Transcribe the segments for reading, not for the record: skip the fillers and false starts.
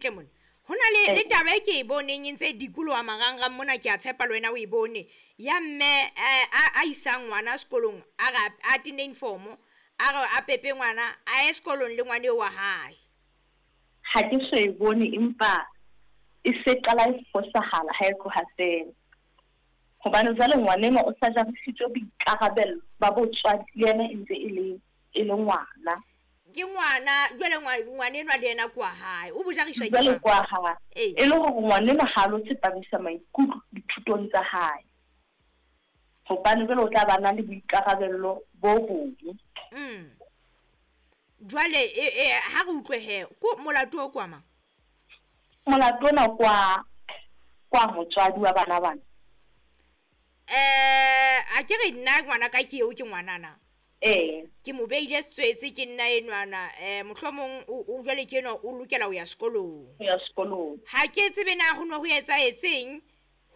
Tle mona. Ho na le le taba e ke e boneng e ntse e dikoloha marangrang mona, ke a tshepa le wena o e bone. Ya mme a a isang ngwana sekolong, a re a tenne uniform, a re a pepe ngwana a ye sekolong le ngwana eo wa hae. Ha ke so e bone empa e se qala e fosahala ha e tloha feela. Hobane jwale ngwanenwa o sa jarisitswe boikarabello ba botswadi le yena e ntse e le e le ngwana. Ke ngwana, jwale ngwanenwa le yena ke wa hae. O bo jariswa ke Jwale mang? ke wa hae. Ee. E le hore ngwanenwa ha a lo tsepamisa maikutlo dithutong tsa hae. Hobane jwale o tla ba na le boikarabello bo bong. Jwale e, e, ha re utlwe he, ko molato o ke wa mang? Molato ona ke wa, ke wa motswadi wa bana bana. A ke re nna ngwana ka ke eo ke ngwanana. Ee. Ke mo beile setswetse ke nna enwana, mohlomong o, o jwale ke enwa o lokela ho ya sekolong. Ho ya sekolong. Ha ke tsebe na ho ne ho etsahetseng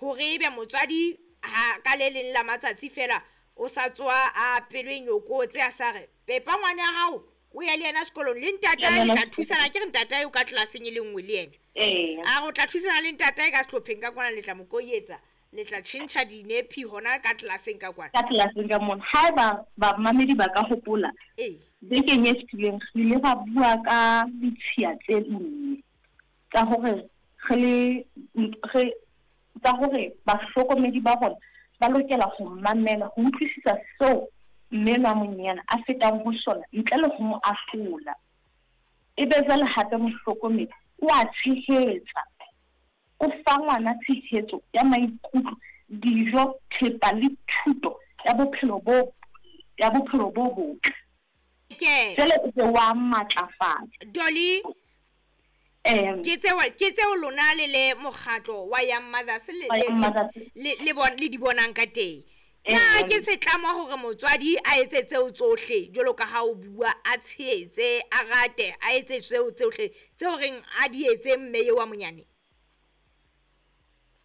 hore ebe motswadi ha ka le leng la matsatsi fela o sa tsoa a pelo e nyokotse a sa re pepa ngwana hao o ye le yena sekolong le ntatae le tla thusana, ke re ntatae o ka tlelaseng e le nngwe le yena. Ee. A re o tla thusana le ntatae ka sehlopheng ka kwana, le tla mo koyetsa, le tla tjhentjha dinepi hona ka tlelaseng ka kwana. Ka tlelaseng ka mona. Haeba bamamedi ba ka hopola, Ee. bekeng e fetileng re ile ra bua ka ditshiya tse nne tsa hore re le, re, tsa hore bahlokomedi ba rona ba lokela ho mamela, ho utlwisisa seo mme enwa a monyenyane a fetang ho sona ntle le ho mo ahlola. Ebe jwale hape mohlokomedi o a tshehetsa, o fa ngwana tshehetso ya maikutlo, dijo, thepa le thuto ya bophelo bo, ya bophelo bo botle. Ke. Jwale o be wa matlafatsa. Dolly, Ke tseo, ke tseo lona le le mokgatlo wa Young Mothers le, Wa Young le, Mothers. le, le bon, le di bonang ka teng. Na ke setlamo hore motswadi a etse tseo tsohle jwalo ka ha o bua, a tshehetse, a rate, a etse tseo tsohle tseo reng a di etse mme eo wa monyane?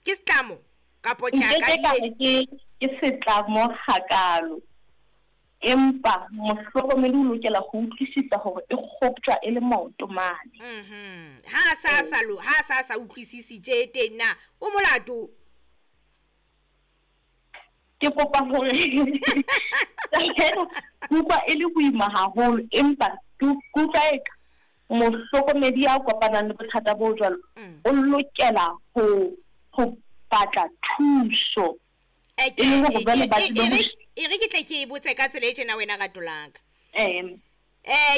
Ke setlamo kapo tjhe a Nke ka ke di ka etsa? re ke, ke setlamo hakalo. Empa mohlokomedi o lokela ho utlwisisa hore e kgoptjwa e le maoto mane. Ha a sa, sa lo, ha a sa, sa utlwisisi tje teng na, o molato? Ke kopa hore ke utlwa e le boima haholo, empa ke utlwa eka mohlokomedi ya kopanang le bothata bo jwalo, o lokela ho batla thuso. E le hore jwale ba tsebe ho E re ke tle ke e botse ka tsela e tjena wena rato la ka. Ee.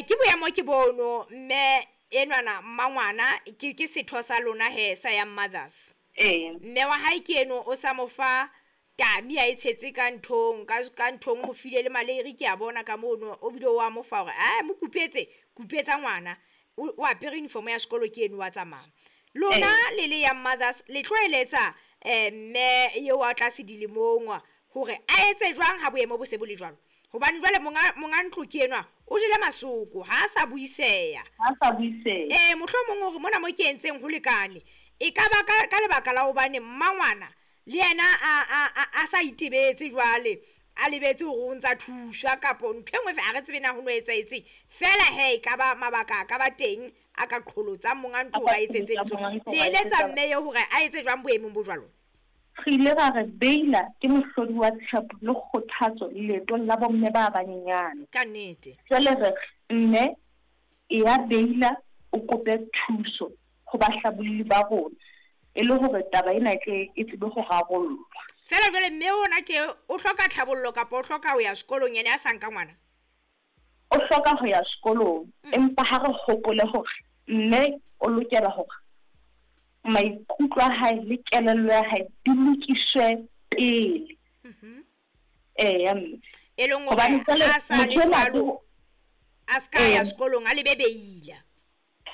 Ke boemo ke bono, mme enwana mmangwana ke setho sa lona he sa Young Mothers. Ee. Mme wa hae ke eno o sa mo fa tami a e tshetse ka nthong, ka nthong, mo file le maleiri ke a bona ka mono, o bile o a mo fa hore, a, mo kupetse, kupetsa ngwana. O apere uniform ya sekolo ke eno wa tsamaya. Lona le le Young Mothers le tlo eletsa, mme eo a tlase dilemong hore a etse jwang ha boemo bo se bo le jwalo? Hobane jwale monga ntlo ke enwa o jele masoko, ha a sa buiseha. Ha a sa buiseha. Mohlomong hore mona mo ke entseng ho lekane. E ka ba ka lebaka la hobane mmangwana le yena a sa itebetse jwale, a lebetse hore o ntsa thuswa kapo ntho e nngwe ha re tsebe na ho no etsahetseng. Feela he, e ka ba mabaka a ka ba teng a ka qholotsang monga ntlo hore a etsetse A ka ntho. qholotsa monga ntlo Le hore a eletsa etsetse mme eo hore a etse jwang boemong bo jwalo? Re ile ra re Beila ke mohlodi wa tshepo le kgothatso leetong la bomme ba banyenyane. Ka nnete. Jwale re re mme e ya Beila o kope thuso ho bahlabolli ba rona e le hore taba ena e tle e tsebe ho rarollwa. Feela jwale mme ona tje o hloka tlhabollo kapa o hloka ho ya sekolong yena a sa nka ngwana? O hloka ho ya sekolong, empa ha re hopole hore mme o lokela hore maikutlo a hae le kelello ya hae di lokiswe pele. Eya, mme. E leng hore Hobane jwale ha sa le motho enwa jwalo, ke ho a ska ya Ee. sekolong, a lebe Beila.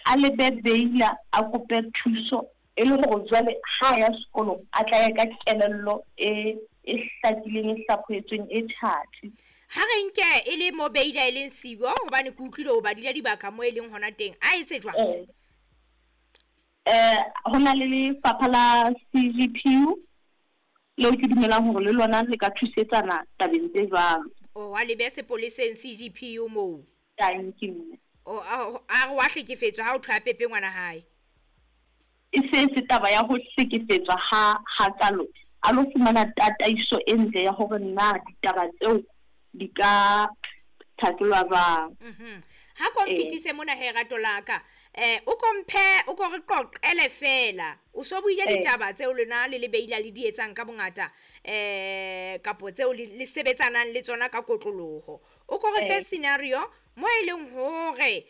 A lebe Beila, a kope thuso e le hore jwale ha ya sekolong a tla ya ka kelello e hlakileng, e hlaphohetsweng, e tjhatsi. Ha re nke e le mo Beila e leng siyo, hobane ke utlwile o badile dibaka mo e leng hona teng, a etse jwang? Ee. Ho na le lefapha la CGPU leo ke dumelang hore le lona le ka thusetsana tabeng tse jwalo. O wa lebe sepoleseng CGPU moo. Thank you, mme. O, a re wa hlekefetswa ha o thwe a pepe ngwana hae. e se se taba ya ho hlekefetswa ha hakalo, a lo fumana tataiso e ntle ya hore na ditaba tseo di ka thakelwa jwang. Ha ko nfetise mona he rato la ka. O ko mphe, o ko re qoqele fela. O so buile ditaba tseo lona le le beila le di etsang ka bongata, kapo tseo le sebetsanang le tsona ka kotloloho. O ko re fe scenario mo e leng hore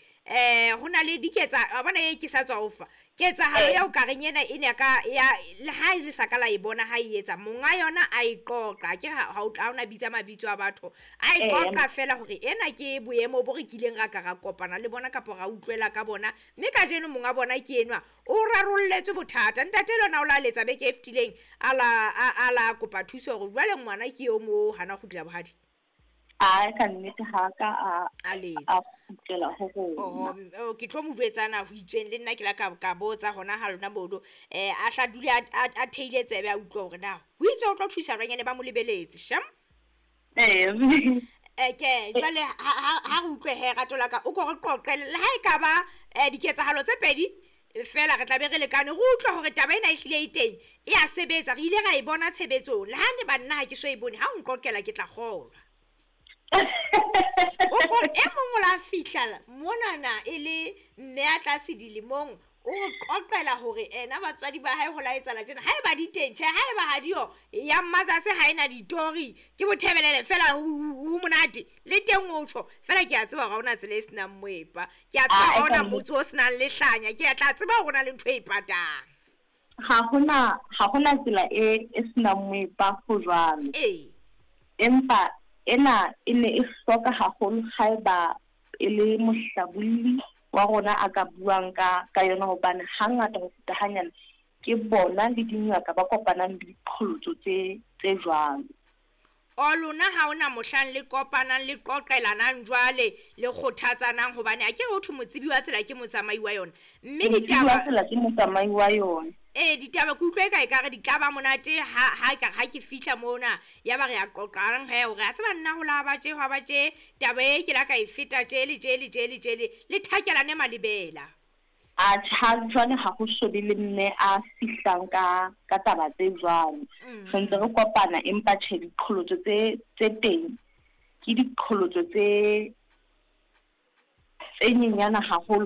ho na le diketsa, wa bona e ke sa tswa o fa. Ketsahalo ya o ka reng ena e ne ka ya le ha e le sa ka la e bona ha e etsa, monga yona a e qoqa. Ke ha o tla ona bitsa mabitso a batho, a e qoqa fela hore ena ke boemo bo re kileng ra ka ra kopana le bona kapa ra utlwela ka bona, mme kajeno monga bona ke enwa o rarolletswe bothata. Ntate lona o la letsa beke e fetileng, a la kopa thuso hore jwale ngwana ke eo mo hana kgutlela bohadi. A ka nnete ha ka a kgutlela ho rona. Ke tlo mo jwetsana ho itsweng le nna ke la ka botsa hona ha lona mono. A hla dule a theile tsebe a utlwe hore na ho itswe o tlo thusa jwang, ene ba mo lebeletse. Sham? Ke jwale ha re utlwe he rato la ka, o ko re qoqele le ha e ka ba diketsahalo tse pedi fela re tla be re lekane re utlwe hore taba ena e hlile e teng, e a sebetsa, re ile ra e bona tshebetsong. Le ha ne banna ha ke so e bone, ha o nqoqela ke tla kgolwa. O ko e mong o la fihla monana e le mme a tlase dilemong, o re qoqela hore ena batswadi ba hae ho la etsahala tjena. Ha eba di teng, tjhe, ha eba ha diyo, ya Mmatsatsi ha ena ditori, ke bothebelele fela ho monate. Le teng o tjho, fela ke a tseba hore ha hona tsela e senang moepa. Ke a tseba ha hona motse o senang lehlanya, ke a tla tseba hore ho na le ntho e patang. Ha hona tsela e senang moepa ho jwalo. Empa ena e ne e hloka haholo haeba e le mohlabolli wa rona a ka buang ka yona, hobane hangata ho feta hanyane ke bona le dingaka ba kopanang le diqholotso tse jwalo. O lona ha ona mohlang le kopanang le qoqelanang jwale le kgothatsanang, hobane a ke re ho thwe motsebi wa tsela ke motsamai wa yona. Mme ditaba tsela ke motsamai wa yona. Ditaba ke utlwe ka ekare di tla ba monate ha ke fihla mona, ya ba re a qoqang he hore a tseba nna ho la ba tje, hwa ba tje, taba e ke la ka e feta tje le tje le tje le tje le thakelane malebela. A tjha jwale ha ho so be le mme a fihlang ka taba tse jwalo. Re ntse re kopana, empa tjhe diqholotso tse teng ke diqholotso tse nyenyana haholo,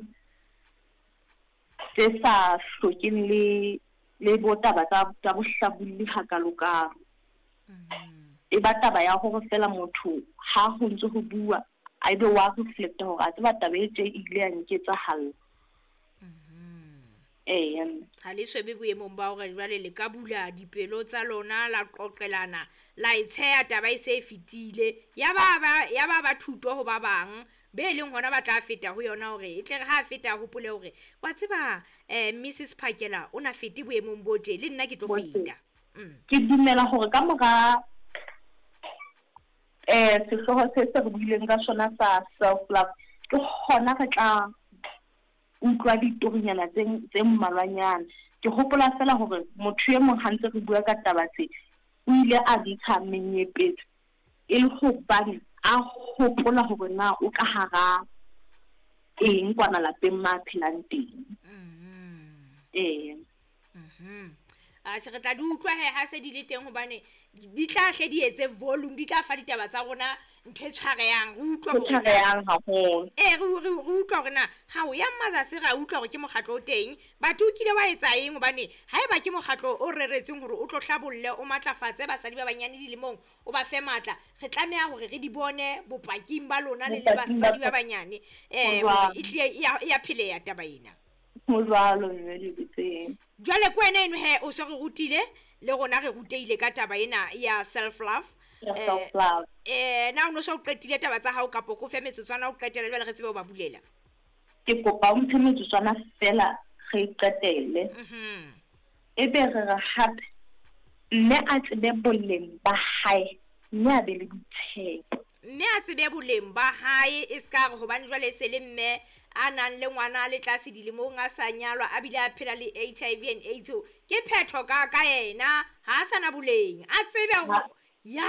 tse sa hlokeng le bo taba tsa bohlabolli hakalokalo. E ba taba ya hore fela motho ha ho ntse ho bua a ebe wa reflecta hore a tseba taba e tje e ile ya nketsahalla. Ha le shebe boemong ba hore jwale le ka bula dipelo tsa lona la qoqelana la e tsheya taba e se e fetile, ya ba thuto ho ba bang be leng hona ba tla feta ho yona, hore e tle re ha feta hopole hore wa tseba Mrs Phakela o na fete boemong bo tje, le nna ke tlo feta. Ke dumela hore ka mora sehlooho se re buileng ka sona sa self love, ke hona re tla utlwa ditorinyana tse mmalwanyana. Ke hopola fela hore motho e mong ha ntse re bua ka taba tse, o ile a ntsha menyepetso e le hobane a hopola hore na o ka hara eng kwana lapeng ma phelang teng. Atjhe, re tla di utlwa he ha se di le teng, hobane di tla hle di etse volume, di tla fa ditaba tsa rona ntho e tshwarehang, re utlwa hore haholo. Re utlwa hore na ha o ya Mmatsatsi ra utlwa hore ke mokgatlo o teng, batho o kile wa etsa eng, hobane haeba ke mokgatlo o reretsweng hore o tlo hlabolle, o matlafatse basadi ba banyane dilemong, o ba fe matla, re tlameha hore re di bone bopaking ba lona le le basadi ba banyane. E hlile e ya pheleha taba ena. Ho jwalo mme Dibetseng. Jwale ke wena eno he o so re rutile, le rona re rutehile ka taba ena ya self love. Self love. Na o no so qetile taba tsa hao kapo ko fe metsotswana o qetele jwale re tsebe ho ba bulela? Ke kopa o mphe metsotswana fela re qetele. Ebe re re hape mme a tsebe boleng ba hae, mme a be le boitshepo. Mme a tsebe boleng ba hae, e ska re hobane jwale e se le mme a nang le ngwana le tlase dilemong a sa nyalwa a bile a phela le HIV and AIDS, ke phetho ka yena ha a sana boleng, a tsebe hore ya